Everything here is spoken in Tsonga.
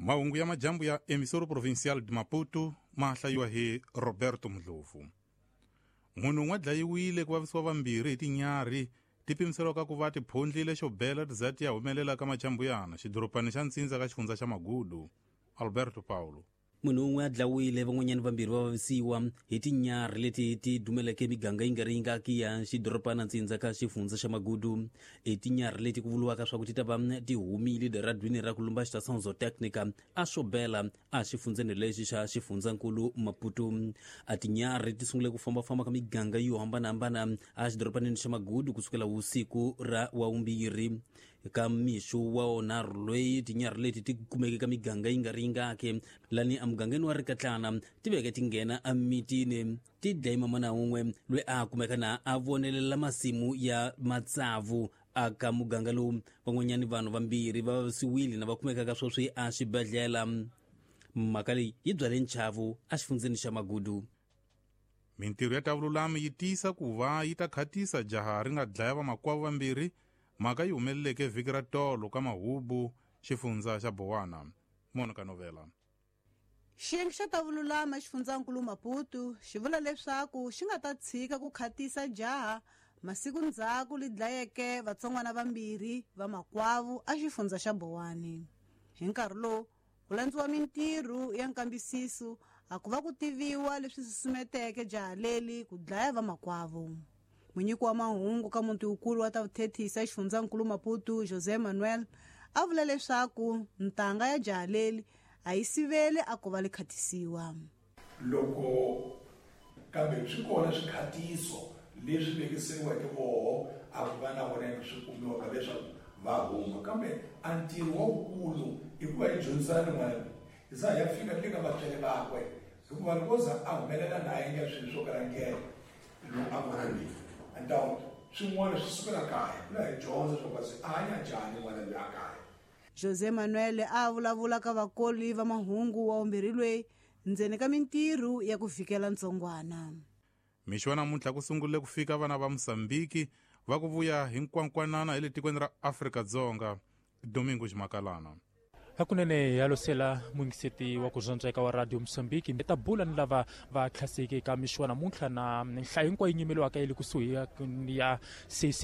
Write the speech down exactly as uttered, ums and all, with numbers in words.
Mahungu ya majambu ya Emissora Provincial de Maputo ma hlayiwa hi Roberto Mdlovu. Munhu un'we dlayiwile ku vavisiwa vambirhi hi tinyarhi ti pimiseriwaka ku va ti phondlile xo bela ti za ti ya humelela ka majambuyana xidorobani xa Ntsindza ka xifundza xa Magudu. Alberto Paulo. Munhu un'we a dlayiwile, van'wanyana vambirhi va vavisiwa hi tinyarhi leti ti dumeleke miganga yi nga ri yingaki ya xidorobana Ntsindza ka xifundza xa Magudu. I tinyarhi leti ku vuriwaka swa ku ti ta va ti humile eradwini ra ku lumba Estação Zootécnica a Sobela a xifundzeni lexi xa xifundzankulu Maputo. A tinyarhi ti sungule ku fambafamba ka miganga yo hambanahambana a xidorobanini xa Magudu kusukela vusiku ra wavumbirhi. Ka mixo wa wonharhu loyi tinyarhi leti ti kumeke ka miganga yi nga ri yingaki lani emugangeni wa Rikatlana ti veke ti nghena emitini ti dlaye mamana wun'we loyi a kumeka na a vonelela masimu ya matsavu aka muganga lowu. Van'wanyani vanhu vambirhi va vavisiwile na va kumekaka sweswi a xibedhlele. Mhaka leyi yi byale nchavu exifundzeni xa Magudu. Mintirho ya ta vululami yi tiyisa ku va yi ta khatisa jaha ri nga dlaya vamakwavo vambirhi. Mhaka yi humeleleke vhiki ra tolo ka Mahubu, xifundza xa Bowana. Monica Novela. Xiyenge xa ta vululami exifundzankulu Maputo xi vula leswaku xi nga ta tshika ku khatisa jaha masiku ndzhaku li dlayeke vatsongwana vambirhi va makwavo a xifundza xa Bowani. Hi nkarhi lowu ku landziwa mintirho ya nkambisiso a ku va ku tiviwa leswi susumeteke jaha leli ku dlaya vamakwavo. Munyiki wa mahungu ka muti wukulu wa ta vuthethisa xifundzankulu Maputo, José Manuel, a vula leswaku ntanga ya jaha leli a yi sivele a ku va li khatisiwa. Loko kambe swi kona swikhatiso leswi vekisiweke voho a ku va na vona swi kumiwaka leswaku va huma, kambe a ntirho wa wukulu i ku va yi dyondzisana n'wana loyi hi za ya fika ni le ka vatswari vakwe, hikuva loko za a humelela na a endla swilo swo kala ndlela lowu a n'wana loyi and swin'wana swi sukela kaya ku la hi dyondza swa ku a hanya njhani n'wana loyi a kaya. José Manuel a vulavula ka vakoli va mahungu wa vumbirhi loyi ndzeni ka mintirho ya ku fikela ntsongwana. Mixo wa namuntlha ku sungurile ku fika vana va Mozambiki va ku vuya hi nkwankwanana hi le tikweni ra Afrika-Dzonga. Domingo Ximakalana. Hakunene ya losela muyingiseti wa ku zwandzeka wa Radio Mozambique ta bula ni lava va tlhaseke ka mixo wa namuntlha na nhlayo hinkwayo yi nyimeliwaka yi le kusuhi ya C C.